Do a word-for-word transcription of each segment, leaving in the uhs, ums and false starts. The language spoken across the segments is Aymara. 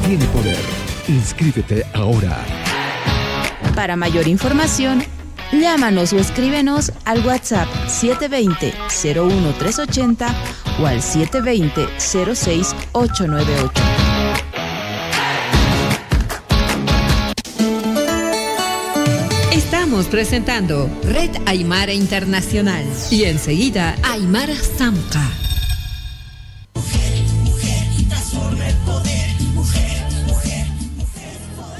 Tiene poder. Inscríbete ahora. Para mayor información, llámanos o escríbenos al WhatsApp siete veinte, cero uno tres ochenta o al siete veinte, cero seis ocho nueve ocho. Estamos presentando Red Aymara Internacional y enseguida Aymara Samca.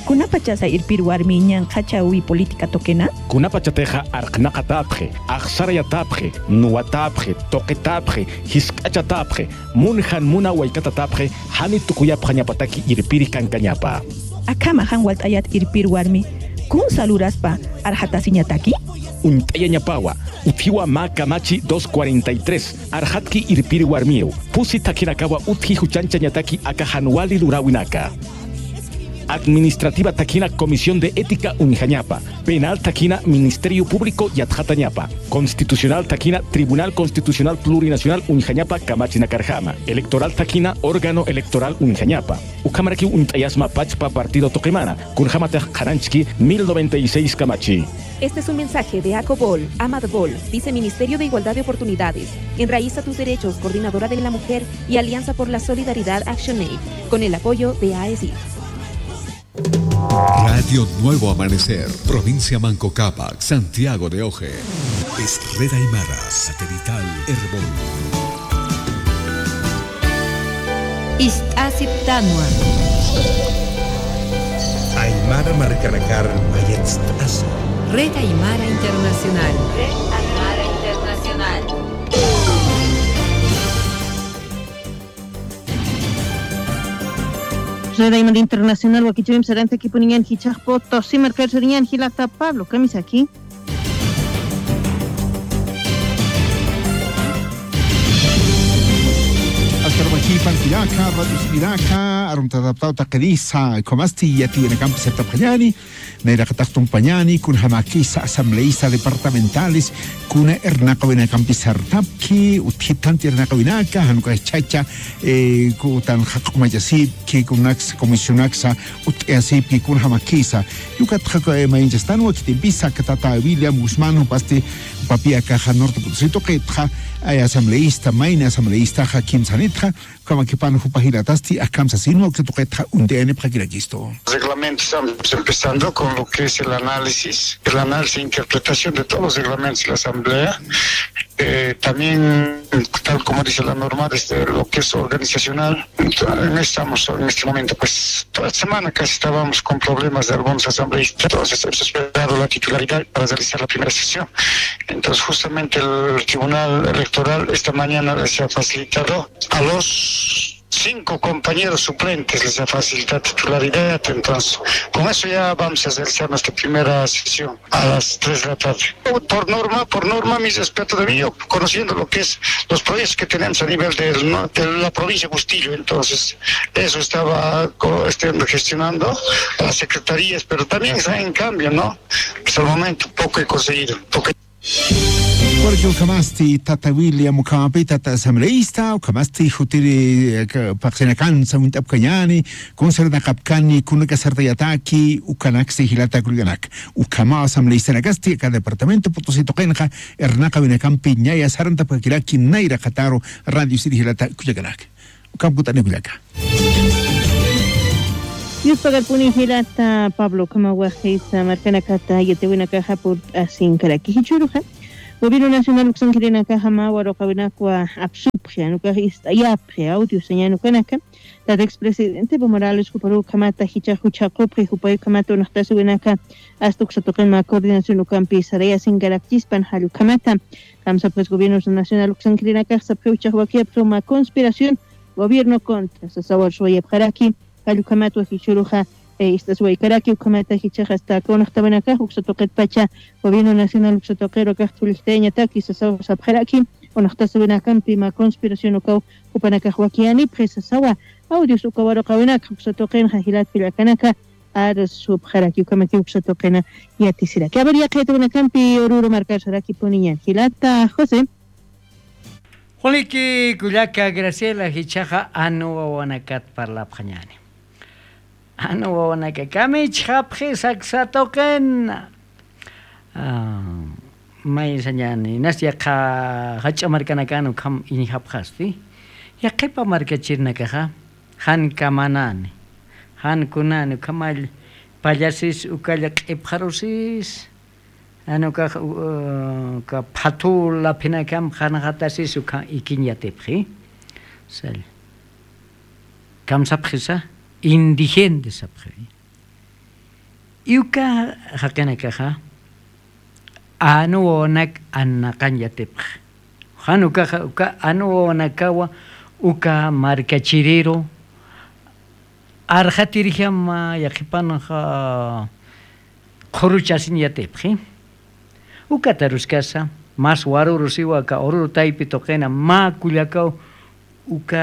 Kunapachasa irpir warmi ñanqhachawi política tuqina? Kunapachatixa arqnaqatapxi, axsarayatapxi, nuwatapxi, tuqitapxi, jisk'achatapxi, munjan muna waykatatapxi, jani tukuyapxañapataki irpiri kankañapa. Akhama jan walt'ayat irpir warmi, kun saluraspa arxatasiñataki? Uñt'ayañapawa, utjiwa mä kamachi dos cuarenta y tres, arxatki irpir warmiw, pusi thakhinakawa utji juchanchañataki aka jan wali luräwinaka. Administrativa thakhina Comisión de Ética uñjañapa, penal thakhina Ministerio Público yatxatañapa, constitucional thakhina Tribunal Constitucional Plurinacional uñjañapa kamachinakarjama, electoral thakhina órgano electoral uñjañapa. Ukhamarakiw uñt'ayasma pachpa partido tuqimana, kunjamatix qhananchki mil noventa y seis kamachi. Este es un mensaje de ACOBOL, AMADBOL, Viceministerio de Igualdad de Oportunidades, Enraiza tus Derechos, Coordinadora de la Mujer y Alianza por la Solidaridad Action Aid, con el apoyo de AESIF. Radio Nuevo Amanecer, provincia Manco Cápac, Santiago de Oje. Es Red Aymara, satelital Erbol. Ist'asiptanwa. Aymara markanakar mayatst'asa. Red Aymara Internacional. Red Aymara Internacional. Red Aymara Internacional wakichäwimp sarantakipuniñan jichhax Potosí markar sarañan jilata Pablo Kamisaki. Askar wakipan kullaka, radio sibiraka, aruntataptaw taqirisa, ukhamasti yatiyanakampi sartapxañani, nayraqatax tumpañani, kunjamakisa asambleísta departamentales, kuna irnaqawinakampi sartapki, utjithanti irnaqawinaka, jan ukax chacha, eh, kutanxa q'umachasipki, kunaksa comisionaksa, ut'ayasipki, kunjamakisa. Ukatxa, eh, mayinchastanwa khitimpisa, aka tata William Guzmán, jupasti, papi akaxa Norte Potosí tuqitxa, ay asambleísta, mayni asambleístaxa, kimsanitxa, Kamakipan jupa jilatasti akham sasinwa, uksa tuqitxa uñt'ayanipxakirakistu. Reglamentos, estamos empezando con lo que es el análisis, el análisis e interpretación de todos los reglamentos de la Asamblea. Eh, también, tal como dice la norma, desde lo que es organizacional, estamos en este momento, pues, toda semana casi estábamos con problemas de algunos asambleístas, entonces hemos esperado la titularidad para realizar la primera sesión. Entonces, justamente el Tribunal Electoral esta mañana les ha facilitado a los cinco compañeros suplentes, les ha facilitado titularidad. Entonces, con eso ya vamos a realizar nuestra primera sesión a las tres de la tarde. Por norma, por norma, mis respetos de mí, yo conociendo lo que es los proyectos que tenemos a nivel del, ¿no?, de la provincia de Bustillo, entonces, eso estaba co-, este, gestionando a las secretarías, pero también está en cambio, ¿no? Hasta el momento poco he conseguido, poco. Porque ukhamasti tata William ukhamapi tata asambleísta, ukhamasti jutiri, eh, ka-, paqsinakansa uñt'apkañani, kunsarnaqapkani, kunaka sartayataki, ukanaksi jilata kullkanak. Ukhama asambleístanakasti, aka departamento Potosí tuqinxa, irnaqawinakampi ñaya sarantapkakiraki, nayraqataru radio siri jilata kullkanak. Ukham kut'ani kullaka. Yuspagarpuni jilata Pablo, ukhamaw wajisa markanakata yatiwinakaxa purt'asinkaraki. Jichhüruxa, Gobierno Nacional uksankirinakaxa mä waruqawinakwa apsupxi, jan ukax ist'ayapxi audio sañäni ukanaka. Tata expresidente Evo Morales juparuw ukhamata jichhax juchhaqupxi, jupay ukhamata unaxtasiwinaka, asta uksa tuqin mä coordinación ukampi sarayasinkarakchispan, jall ukhamata. Kamsapxis Gobierno Nacional uksankirinakax sapxiw jichhax wakiyapxiw mä conspiración gobierno contra sasaw arsuwayapxaraki, jall ukhamatwa jichhüruxa, eh, ist'asiwaykaraki, ukhamata jichhax asta aka unaxtawinakax uksa tuqitpacha Gobierno Nacional uksa tuqiru akax thulijtayañataki sasaw sapxaraki, unaxtasiwinakampi mä conspiración ukaw jupanakax wakiyänipxi sasawa, audios uka waruqawinakax uksa tuqinxa jilat kullakanaka, arsupxaraki, ukhamakiw uksa tuqina yatisiraki. A ver, yaqha yatiwinakampi Oruro markar sarakipuniñan. Jilata José. Joliki kullaka Graciela, jichhaxa jan wawanakat parlapxañäni. Jan wawanaka kamichxapxi saksa tuqina. Maysañani inas yaqha jach'a markanakan ukham iñjapxasti. Yaqhipa markachirinakaxa jan kamanani, jan kunani ukhamall pallasis ukalla q'ipxarusis. Jan ukax uka phathu laphinakam qhanxatasis ukha ikiñ yatipxi. Sal kamsapxisa indigente sapxi. Iwka jaqinakaxa anu wawanak annaqañ yatipx. Jan ukaxa uka anu wawanakawa uka markachiriru arxatirjama yaqhipanxa qhuruchasiñ yatipxi. Ukataruskasa mas warurusiwa aka ururu taypi tuqina mä kullakaw uka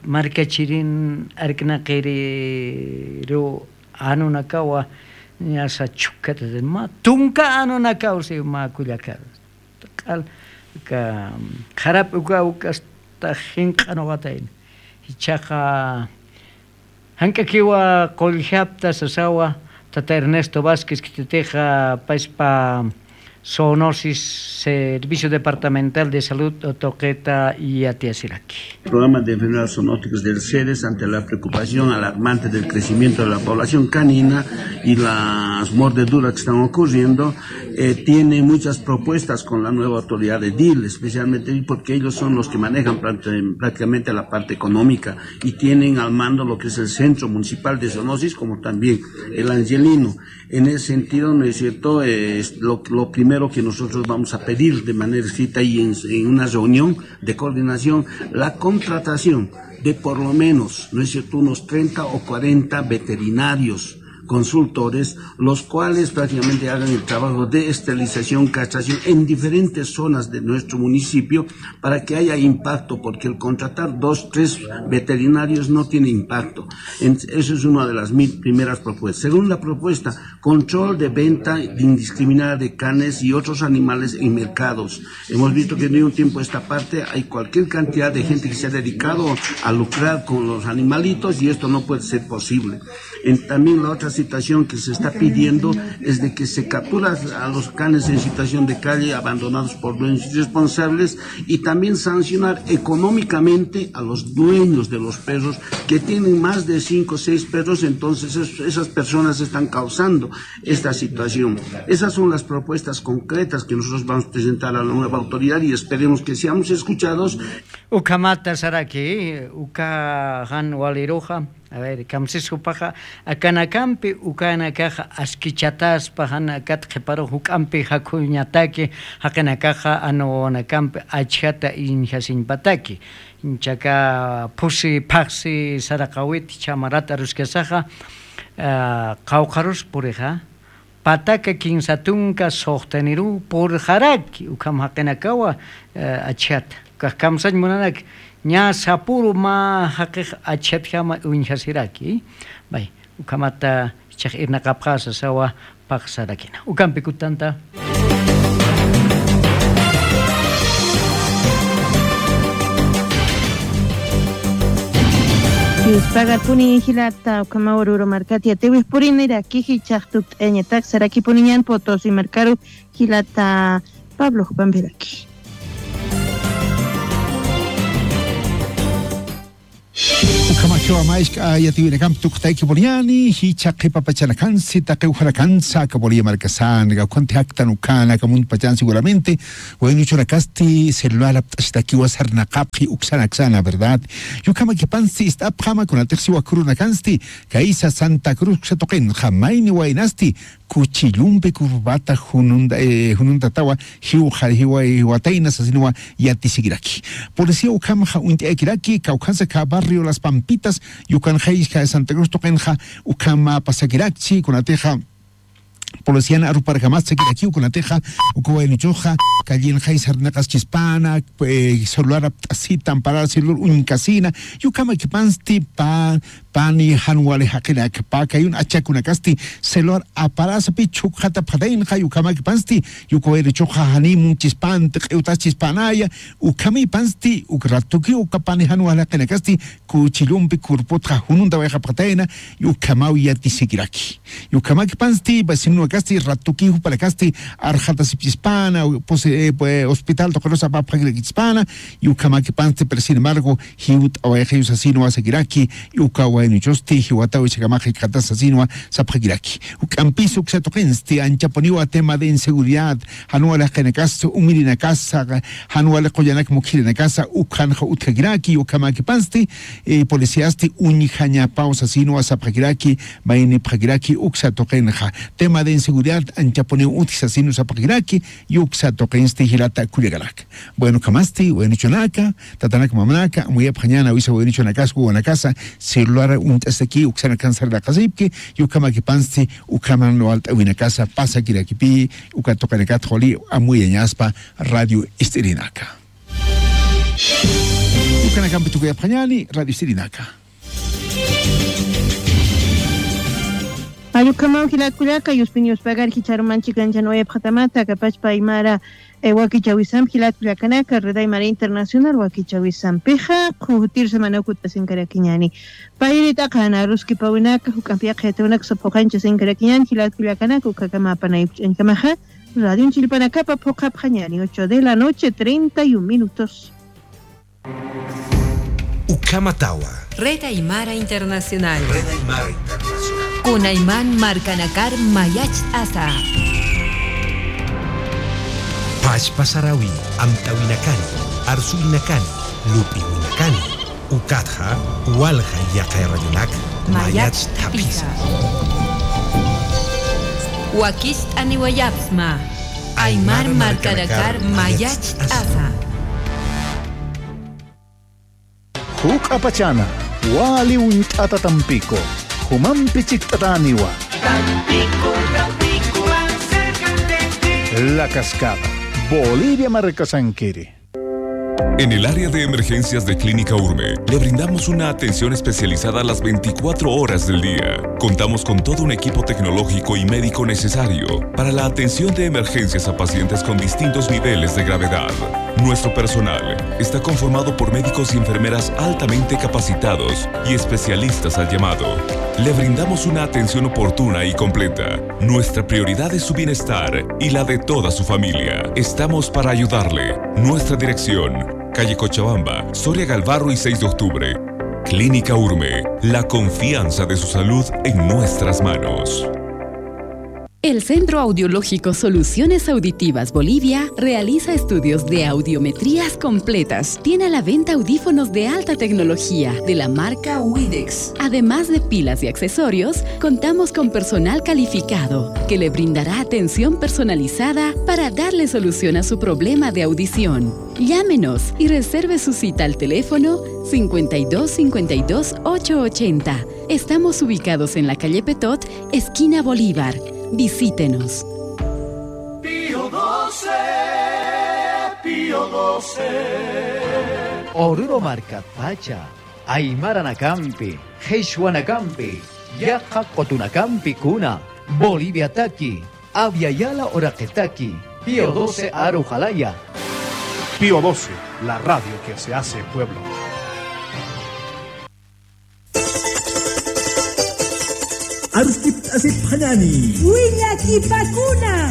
markachirin arknaqiriru anunakawa ñasa chukkatati mä tunka anunakaw si mä kullakaru. Q'al uka qharap uka ukasta jinq'anuqatayna. Jichhaqa jank'akiwa qulljiapta sasawa tata Ernesto Vázquez khititixa payspa zoonosis, Servicio Departamental de Salud tuqita yatiyasiraki. Programa de enfermedades zoonóticas del ceres ante la preocupación alarmante del crecimiento de la población canina y las mordeduras que están ocurriendo, eh, tiene muchas propuestas con la nueva autoridad edil, especialmente porque ellos son los que manejan prácti- prácticamente la parte económica y tienen al mando lo que es el centro municipal de zoonosis como también el angelino. En ese sentido, ¿no es cierto? Eh, es lo, lo primero que nosotros vamos a pedir de manera escrita y en, en una reunión de coordinación, la contratación de por lo menos, ¿no es cierto?, unos treinta o cuarenta veterinarios consultores, los cuales prácticamente hagan el trabajo de esterilización, castración en diferentes zonas de nuestro municipio para que haya impacto, porque el contratar dos, tres veterinarios no tiene impacto. En- eso es una de las mi- primeras propuestas. Segunda propuesta, control de venta indiscriminada de carnes y otros animales en mercados. Hemos visto que de un tiempo a esta parte hay cualquier cantidad de gente que se ha dedicado a lucrar con los animalitos y esto no puede ser posible. En- también la otra situación que se está pidiendo es de que se captura a los canes en situación de calle, abandonados por dueños irresponsables, y también sancionar económicamente a los dueños de los perros que tienen más de cinco o seis perros, entonces es- esas personas están causando esta situación. Esas son las propuestas concretas que nosotros vamos a presentar a la nueva autoridad y esperemos que seamos escuchados. Ukhamata saraki, uka jan waliruxa. A ver, kamsis jupaxa, akanakampi ukanakaxa askichataspa jan akat qhiparux juk'ampi jakhuñataki, jaqinakaxa anu wawanakampi achjata iñjasiñpataki. Chaka phusi phaqsi saraqawit chamarat aruskasaxa, ah, qawqharus purixa, pataka kinsa tunka suxtaniruw purxaraki, ukham jaqinakawa, eh, achjata. Ukax kamsañ munanak, ña sapuru mä jaqix achjatjama uñjasiraki. Bay, ukhamata jichhax irnaqapxä sasawa paqsarakina. Ukampi kutanta. Yuspagarpuni jilata, ukhamaw Oruro markat yatiwix puriniraki, jichhax tukt'ayañatak sarakipuniñan Potosí markaru jilata Pablo jupampiraki. Ukhamakiwa mask'a yatiwinakampi tukt'ayki puriñani, jichha qhipa pachanakansi, taqi ukhanakansa, aka Bolivia markasan, aka ukhanta jaktan ukhana, aka mundo pachan seguramente, waynuchunakasti celular apt'asitakiwa sarnaqapxi uksana aksana, ¿verdad? Yukhamakipansti ist'apxama, kunatixsi wakhürunakansti, kaysa Santa Cruz uksa tuqinxa, mayni waynasti, kuchillumpi corbata jununda-, eh, jununtatawa, jiwxa, jiwa-, jiwatayna sasinwa yatisikiraki. Policía ukhamxa uñt'ayakiraki, kawkhansa aka barrio Las Pampitas, yukanxaysa Santa Cruz tuqinxa, ukhama pasakirakchi, kunatixa, polician aruparkamasakirakiw, kunatixa, uka waynuchuxa, callenxay sarnaqaschispana, eh, celular apt'asita, amparar celular uñkasina, yukhamakipansti pa-, Pani jan wali jaqinak, pakayun achakunakasti celular aparasa pi chhukxatapxataynxa, ukhamäkipansti, uka wayruchuxa janiy munchispanti, q'iwtaschispanaya, ukhamïpansti, uk ratuki uka pani jan wali jaqinakasti, kuchillumpi kurputxa jununta wayxapxatayna, ukhamaw yatisikiraki. Ukhamäkipansti, vecininakasti, ratuki jupanakasti, arxatasipchispana, pus-, eh, pues, hospital tuqirus apapxakirakchispana, ukhamäkipansti, pero sin embargo, jiwt'awayxiw sasinwa sakiraki, uka waynuchusti, jiwataw ichhakamax jikxatas sasinwa sapxakiraki. Juk'ampis uksa tuqinsti, anchapuniwa tema de inseguridad, jan wali jaqinakasa, umirinakasa, jan wali qullanak mukhirïrinakasa, ukhanxa utjakiraki, ukhamäkipansti, eh, policíasti uñjañapaw sasinwa sapxakiraki, maynipxakiraki, uksa tuqinxa. Tema de inseguridad, anchapuniw utji sasinwa sapxakiraki, uksa tuqinsti jilata kullakanak. Bueno, ukhamasti, waynuchunaka, tatanak mamanaka, amuyapxañäni awisa waynuchunakasa, wawanakasa, celular uñt'asaki, uksanakan sarnaqasipki, ukhamäkipansti, ukhaman walt'äwinakasa, pasakirakipï, uka tuqinakatxa wali amuyañaspa Radio Ist'irinaka. Ukanakampi tukuyapxañäni, Radio Ist'irinaka. Ay, ukhamaw jilat kullaka, yuspin yuspagari jichharuman chikanchanuwayapxatamata, akapachpa aymara, eh, wakichäwisampi jilat kullakanaka, Red Aymara Internacional wakichäwisampixa, qhutirsa mana ukutasinkarakiñäni. Payri t'aqana aruskipawinaka, juk'ampi yaqha yatiyawinaka sapxuqañchasinkarakiñäni, jilat kullakanaka, ukhakama apanayapxañkamaxa, radion chillpanakapa phuqhapxañäni, ocho de la noche, treinta y un minutos. Ukhamatawa. Red Aymara Internacional. Red Aymara Internacional. Kunayman markanakar mayacht'asa. Pachpa sarawi amtawinakani, arsuyinakani, lup'iwinakani. Ukatxa, walja yaqha radionak mayacht'apisa. Mayacht'apisa. Wakicht'aniwayapxsma. Aymar markanakar mayacht'asa. Juk'apachana, wali uñt'ata Tampico, jumampi chikt'atäniwa. Tampico, Tampico, más cerca de ti. La Cascada, Bolivia markasankiri. En el área de emergencias de Clínica Urme, le brindamos una atención especializada las veinticuatro horas del día. Contamos con todo un equipo tecnológico y médico necesario para la atención de emergencias a pacientes con distintos niveles de gravedad. Nuestro personal está conformado por médicos y enfermeras altamente capacitados y especialistas al llamado. Le brindamos una atención oportuna y completa. Nuestra prioridad es su bienestar y la de toda su familia. Estamos para ayudarle. Nuestra dirección: calle Cochabamba, Soria Galvarro y seis de octubre. Clínica Urme, la confianza de su salud en nuestras manos. El Centro Audiológico Soluciones Auditivas Bolivia realiza estudios de audiometrías completas. Tiene a la venta audífonos de alta tecnología de la marca Widex. Además de pilas y accesorios, contamos con personal calificado que le brindará atención personalizada para darle solución a su problema de audición. Llámenos y reserve su cita al teléfono cincuenta y dos cincuenta y dos ocho ochenta. Estamos ubicados en la calle Petot, esquina Bolívar. Visítenos. Pío doce, Pío doce. Oruro markatpacha, aymaranakampi, qhichwanakampi, yaqha qutunakampi kuna, Boliviataki, Abya Yala uraqitaki, Pío doce aru jalaya. Pío doce, la radio que se hace pueblo. Aruskipt'asipxañäni. Willakipakuna.